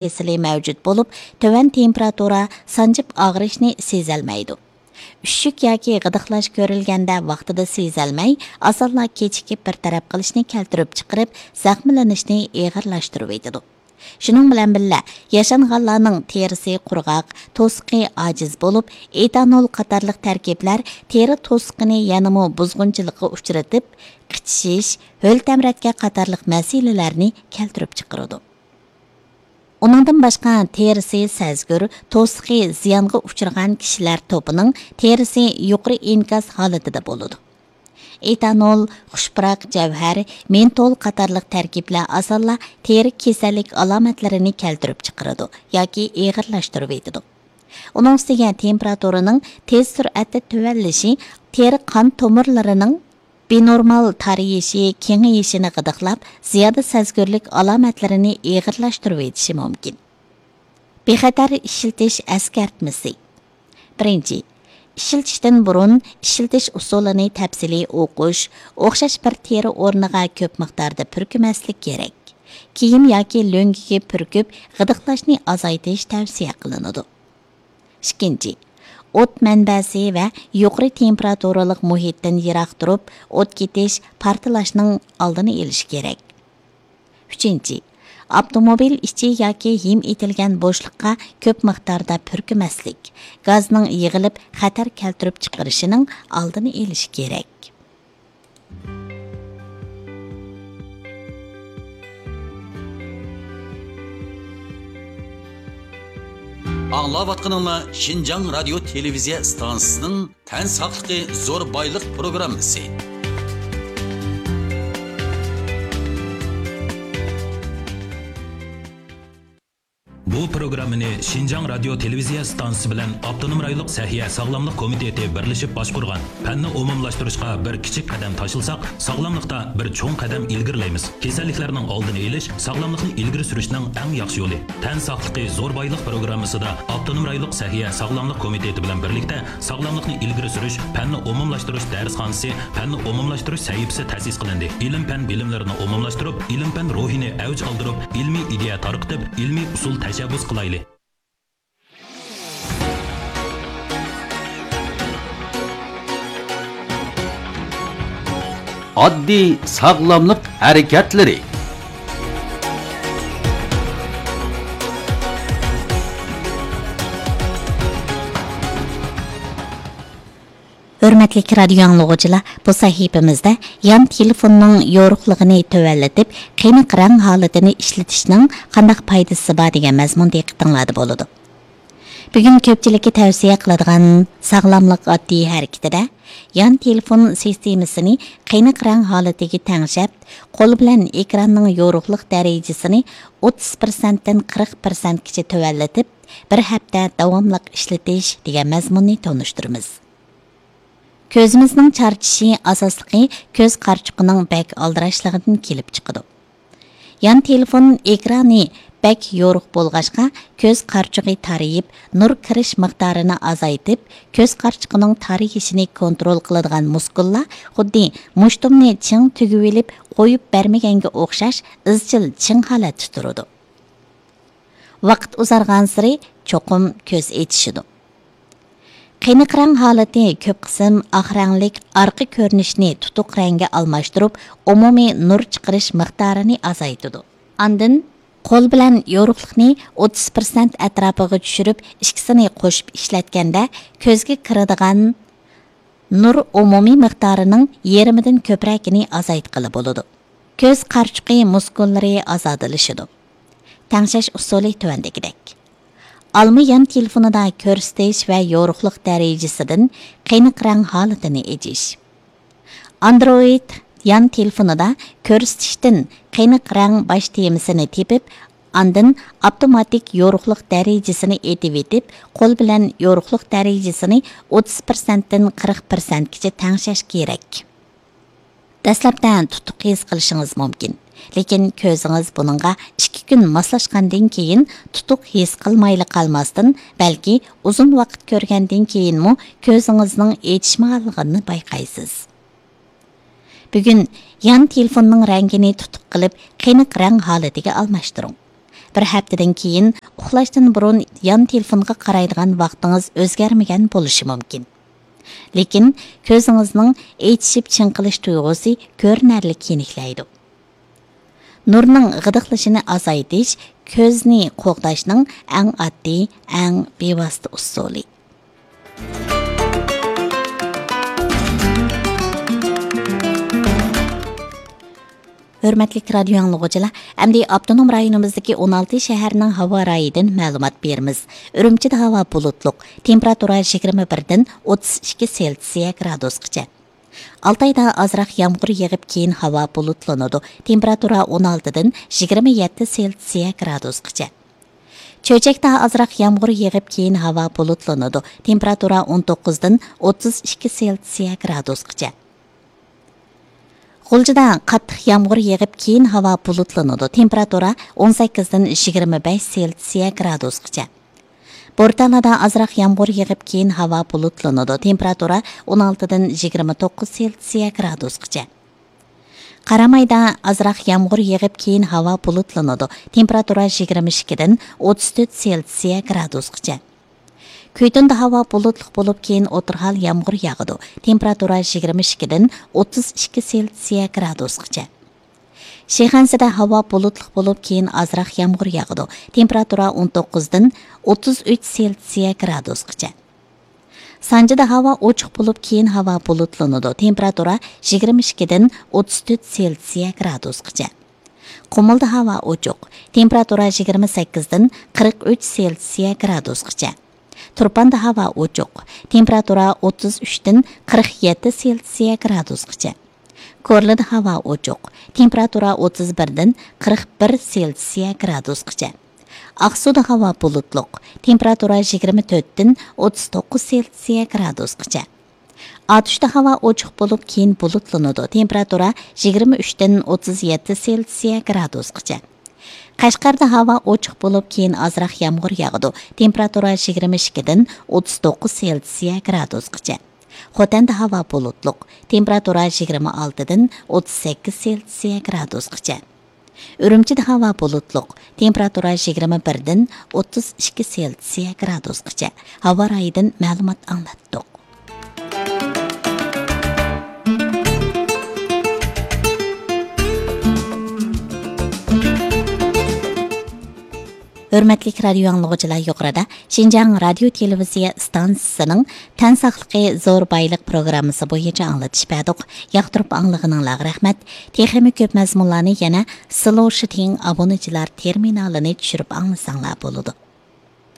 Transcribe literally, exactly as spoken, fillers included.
تەسىرى مەۋجۇت بولۇپ، تۆۋەن تېمپېراتۇرا، سانجىپ ئاغرىشنى سېزەلمەيدۇ. ئۈششۈك ياكى غىدىقلاش كۆرۈلگەندە ۋاقتىدا سېزەلمەي، ئاسانلا كېچىكىپ بىر تەرەپ قىلىشنى كەلتۈرۈپ چىقىرىپ، زەخىملىنىشنى ئېغىرلاشتۇرۇۋېتىدۇ. شۇنىڭ بىلەن بىللە، ياشانغانلارنىڭ تېرىسى قۇرغاق، توسۇقى ئاجىز بولۇپ، ئېتانول قاتارلىق تەركىبلەر تېرە توسۇقىنى يەنىمۇ بۇزغۇنچىلىققا ئۇچرىتىپ، قىچىشىش، ھۆل تەمرەتكە قاتارلىق مەسىلىلەرنى كەلتۈرۈپ چىقىرىدۇ. ئۇنىڭدىن باشقا، تېرىسى سەزگۈر، توسۇقى زىيانغا ئۇچرىغان كىشىلەر توپىنىڭ تېرىسى يۇقىرى ئىنكاس ھالىتىدە بولىدۇ. ئېتانول، خۇش پۇراق جەۋھەر، مېنتول قاتارلىق تەركىبلەر ئاسانلا تېرە كېسەللىك ئالامەتلىرىنى كەلتۈرۈپ چىقىرىدۇ ياكى ئېغىرلاشتۇرۇۋېتىدۇ. ئۇنىڭ ئۈستىگە تېمپېراتۇرىنىڭ تېز سۈرئەتتە تۆۋەنلىشى تېرە قان تومۇرلىرىنىڭ بىنورمال تارىيىشى، كېڭىيىشىنى غىدىقلاپ، زىيادە سەزگۈرلۈك ئالامەتلىرىنى ئېغىرلاشتۇرۇۋېتىشى مۇمكىن. بىخەتەر ئىشلىتىش ئەسكەرتمىسى. بىرىنچى، ئىشلىتىشتىن بۇرۇن ئىشلىتىش ئۇسۇلىنى تەپسىلىي ئوقۇش، ئوخشاش بىر تېرە ئورنىغا كۆپ مىقداردا پۈركىمەسلىك كېرەك. كىيىم ياكى لۆڭگىگە پۈركۈپ، غىدىقلاشنى ئازايتىش تەۋسىيە قىلىنىدۇ. ئىككىنچى، ئوت مەنبەسى ۋە يۇقىرى تېمپېراتۇرىلىق مۇھىتتىن يىراق تۇرۇپ، ئوت كېتىش، پارتلاشنىڭ ئالدىنى ئېلىش كېرەك. ئۈچىنچى، ئاپتوموبىل ئىچى ياكى ھىم ئېتىلگەن بوشلۇققا كۆپ مىقداردا پۈركىمەسلىك، گازنىڭ يىغىلىپ خەتەر كەلتۈرۈپ چىقىرىشىنىڭ ئالدىنى ئېلىش كېرەك. ئاڭلاۋاتقىنىڭلار شىنجاڭ رادىيو تېلېۋىزىيە ئىستانسىسىنىڭ تەن ساقلىقى زور بايلىق پروگراممىسى. بۇ پروگراممىنى شىنجاڭ رادىيو تېلېۋىزىيە ئىستانسىسى بىلەن ئاپتونوم رايونلۇق سەھىيە ساغلاملىق كومىتېتى بىرلىشىپ باشقۇرغان. پەننى ئومۇملاشتۇرۇشقا بىر كىچىك قەدەم تاشلىساق، ساغلاملىقتا بىر چوڭ قەدەم ئىلگىرىلەيمىز. كېسەللىكلەرنىڭ ئالدىنى ئېلىش، ساغلاملىقنى ئىلگىرى سۈرۈشنىڭ ئەڭ ياخشى يولى. تەن ساقلىقى زور بايلىق پروگراممىسىدا ئاپتونوم رايونلۇق سەھىيە ساغلاملىق كومىتېتى بىلەن بىرلىكتە ساغلاملىقنى ئىلگىرى سۈرۈش پەننى ئومۇملاشتۇرۇش دەرسخانىسى، پەننى ئومۇملاشتۇرۇش سەھىپىسى تەسىس قىلىندى. ئىلىم-پەن بىلىملىرىنى ئومۇملاشتۇرۇپ، ئىلىم-پەن روھىنى ئەۋج ئالدۇرۇپ، ئىلمىي ئىدىيە تارقىتىپ، ئىلمىي ئۇسۇل تەشەببۇس قىلايلى. ئاددىي ساغلاملىق ھەرىكەتلىرى. ھۆرمەتلىك رادىيو ئاڭلىغۇچىلار، بۇ سەھىپىمىزدە يان تېلېفوننىڭ يورۇقلۇقىنى تۆۋەنلىتىپ، قېنىق رەڭ ھالىتىنى ئىشلىتىشنىڭ قانداق پايدىسى بار دېگەن مەزمۇن دىققىتىڭلاردا بولىدۇ. بۈگۈن كۆپچىلىككە تەۋسىيە قىلىدىغان ساغلاملىق ئاددىي ھەرىكىتىدە يان تېلېفون سىستېمىسىنى قېنىق رەڭ ھالىتىگە تەڭشەپ، قول بىلەن ئېكراننىڭ يورۇقلۇق دەرىجىسىنى ئوتتۇز پىرسەنتتىن قىرىق پىرسەنتكىچە تۆۋەنلىتىپ، بىر ھەپتە داۋاملىق ئىشلىتىش دېگەن مەزمۇننى تونۇشتۇرىمىز. كۆزىمىزنىڭ چارچىشى ئاساسلىقى كۆز قارىچۇقىنىڭ بەك ئالدىراشلىقىدىن كېلىپ چىقىدۇ. يان تېلېفون ئېكرانى بەك يورۇق بولغاچقا، كۆز قارىچۇقى تارىيىپ، نۇر كىرىش مىقدارىنى ئازايتىپ، كۆز قارىچۇقىنىڭ تارىيىشىنى كونترول قىلىدىغان مۇسكۇللار خۇددى مۇشتۇمنى چىڭ تۈگۈۋېلىپ قويۇپ بەرمىگەنگە ئوخشاش ئىزچىل چىڭ ھالەتتە تۇرىدۇ. ۋاقىت ئۇزارغانسېرى چوقۇم كۆز ئېچىشىدۇ. قېنىق رەڭ ھالىتى كۆپ قىسىم ئاق رەڭلىك ئارقا كۆرۈنۈشنى تۇتۇق رەڭگە ئالماشتۇرۇپ، ئومۇمىي نۇر چىقىرىش مىقدارىنى ئازايتىدۇ. ئاندىن قول بىلەن يورۇقلۇقنى ئوتتۇز پىرسەنت ئەتراپىغا چۈشۈرۈپ، ئىككىسىنى قوشۇپ ئىشلەتكەندە، كۆزگە كىرىدىغان نۇر ئومۇمىي مىقدارىنىڭ يېرىمىدىن كۆپرەكىنى ئازايتقىلى بولىدۇ. كۆز قارىچۇقى مۇسكۇللىرى ئازادىلىشىدۇ. تەڭشەش ئۇسۇلى تۆۋەندىكىدەك. ئالما يان تېلېفونىدا كۆرسىتىش ۋە يورۇقلۇق دەرىجىسىدىن قېنىق رەڭ ھالىتىنى ئېچىش. ئاندرويىد يان تېلېفونىدا كۆرسىتىشتىن قېنىق رەڭ باش تېمىسىنى تېپىپ، ئاندىن ئاپتوماتىك يورۇقلۇق دەرىجىسىنى ئېتىۋېتىپ، قول بىلەن يورۇقلۇق دەرىجىسىنى ئوتتۇز پىرسەنتتىن قىرىق پىرسەنتكىچە تەڭشەش كېرەك. دەسلەپتە تۇتۇق ھېس قىلىشىڭىز مۇمكىن، لېكىن كۆزىڭىز بۇنىڭغا ئىككى كۈن ماسلاشقاندىن كېيىن تۇتۇق ھېس قىلمايلا قالماستىن، بەلكى ئۇزۇن ۋاقىت كۆرگەندىن كېيىنمۇ كۆزىڭىزنىڭ ئېچىشمىغانلىقىنى بايقايسىز. بۈگۈن يان تېلېفوننىڭ رەڭگىنى تۇتۇق قىلىپ، قېنىق رەڭ ھالىتىگە ئالماشتۇرۇڭ. بىر ھەپتىدىن كېيىن ئۇخلاشتىن بۇرۇن يان تېلېفونغا قارايدىغان ۋاقتىڭىز ئۆزگەرمىگەن بولۇشى مۇمكىن. لېكىن كۆزىڭىزنىڭ ئېچىشىپ چىڭقىلىش تۇيغۇسى كۆرۈنەرلىك يېنىكلەيدۇ. نۇرنىڭ غىدىقلىشىنى ئازايتىش كۆزنى قوغداشنىڭ ئەڭ ئاددىي، ئەڭ بىۋاسىتە ئۇسۇلى. ھۆرمەتلىك رادىيو ئاڭلىغۇچىلار، ئەمدى ئاپتونوم رايونىمىزدىكى ئون ئالتە شەھەرنىڭ ھاۋا رايىدىن مەلۇمات بېرىمىز. ئۈرۈمچىدە ھاۋا بۇلۇتلۇق، تېمپېراتۇرا يىگىرمە بىردىن ئوتتۇز ئىككى سېلسىيە گرادۇسقىچە. ئالتايدا ئازراق يامغۇر يېغىپ، كېيىن ھاۋا بۇلۇتلىنىدۇ، تېمپېراتۇرا ئون ئالتىدىن يىگىرمە يەتتە سېلسىيە گرادۇسقىچە. چۆچەكتە ئازراق يامغۇر يېغىپ، كېيىن ھاۋا بۇلۇتلىنىدۇ، تېمپېراتۇرا ئون توققۇزدىن ئوتتۇز ئىككى سېلسىيە گرادۇسقىچە. غۇلجىدا قاتتىق يامغۇر يېغىپ، كېيىن ھاۋا بۇلۇتلىنىدۇ، تېمپېراتۇرا ئون سەككىزدىن يىگىرمە بەش سېلسىيە گرادۇسقىچە. بورتالادا ئازراق يامغۇر يېغىپ، كېيىن ھاۋا بۇلۇتلىنىدۇ، تېمپېراتۇرا ئون ئالتىدىن يىگىرمە توققۇز سېلسىيە گرادۇسقىچە. قارامايدا ئازراق يامغۇر يېغىپ، كېيىن ھاۋا بۇلۇتلىنىدۇ، تېمپېراتۇرا يىگىرمە ئىككىدىن ئوتتۇز تۆت سېلسىيە گرادۇسقىچە. كۈيتۇندا ھاۋا بۇلۇتلۇق بولۇپ، كېيىن ئوتتۇرا ھال يامغۇر ياغىدۇ، تېمپېراتۇرا يىگىرمە ئىككىدىن ئوتتۇز ئىككى سېلسىيە گرادۇسقىچە. شىخەنزىدە ھاۋا بۇلۇتلۇق بولۇپ، كېيىن ئازراق يامغۇر ياغىدۇ، تېمپېراتۇرا ئون توققۇزدىن ئوتتۇز ئۈچ سېلسىيە گرادۇسقىچە. سانجىدا ھاۋا ئوچۇق بولۇپ، كېيىن ھاۋا بۇلۇتلىنىدۇ، تېمپېراتۇرا يىگىرمە ئىككىدىن ئوتتۇز تۆت سېلسىيە گرادۇسقىچە. قۇمۇلدا ھاۋا ئوچۇق، تېمپېراتۇرا يىگىرمە سەككىزدىن قىرىق ئۈچ سېلسىيە گرادۇسقىچە. تۇرپاندا ھاۋا ئوچۇق، تېمپېراتۇرا ئوتتۇز ئۈچتىن قىرىق يەتتە سېلسىيە گرادۇسقىچە. كورلىدا ھاۋا ئوچۇق، تېمپېراتۇرا ئوتتۇز بىردىن قىرىق بىر سېلسىيە گرادۇسقىچە. ئاقسۇدا ھاۋا بۇلۇتلۇق، تېمپېراتۇرا يىگىرمە تۆتتىن ئوتتۇز توققۇز سېلسىيە گرادۇسقىچە. ئاتۇشتا ھاۋا ئوچۇق بولۇپ، كېيىن بۇلۇتلىنىدۇ، تېمپېراتۇرا يىگىرمە ئۈچتىن ئوتتۇز يەتتە سېلسىيە گرادۇسقىچە. قەشقەردە ھاۋا ئوچۇق بولۇپ، كېيىن ئازراق يامغۇر ياغىدۇ، تېمپېراتۇرا يىگىرمە ئىككىدىن ئوتتۇز توققۇز سېلسىيە گرادۇسقىچە. خوتەندە ھاۋا بۇلۇتلۇق، تېمپېراتۇرا يىگىرمە ئالتىدىن ئوتتۇز سەككىز سېلسىيە گرادۇسقىچە. ئۈرۈمچىدە ھاۋا بۇلۇتلۇق، تېمپېراتۇرا يىگىرمە بىردىن ئوتتۇز ئىككى سېلسىيە گرادۇسقىچە. ھاۋا رايىدىن مەلۇمات ئاڭلاتتۇق. ھۆرمەتلىك رادىيو ئاڭلىغۇچىلار، يۇقىرىدا شىنجاڭ رادىيو تېلېۋىزىيە ئىستانسىسىنىڭ تەن ساقلىقى زور بايلىق پروگراممىسى بويىچە ئاڭلىتىش بەردۇق. ياقتۇرۇپ ئاڭلىغىنىڭلارغا رەھمەت. تېخىمۇ كۆپ مەزمۇنلارنى يەنە سلوشىتىڭ ئابۇنىچىلار تېرمىنالىنى چۈشۈرۈپ ئاڭلىساڭلار بولىدۇ.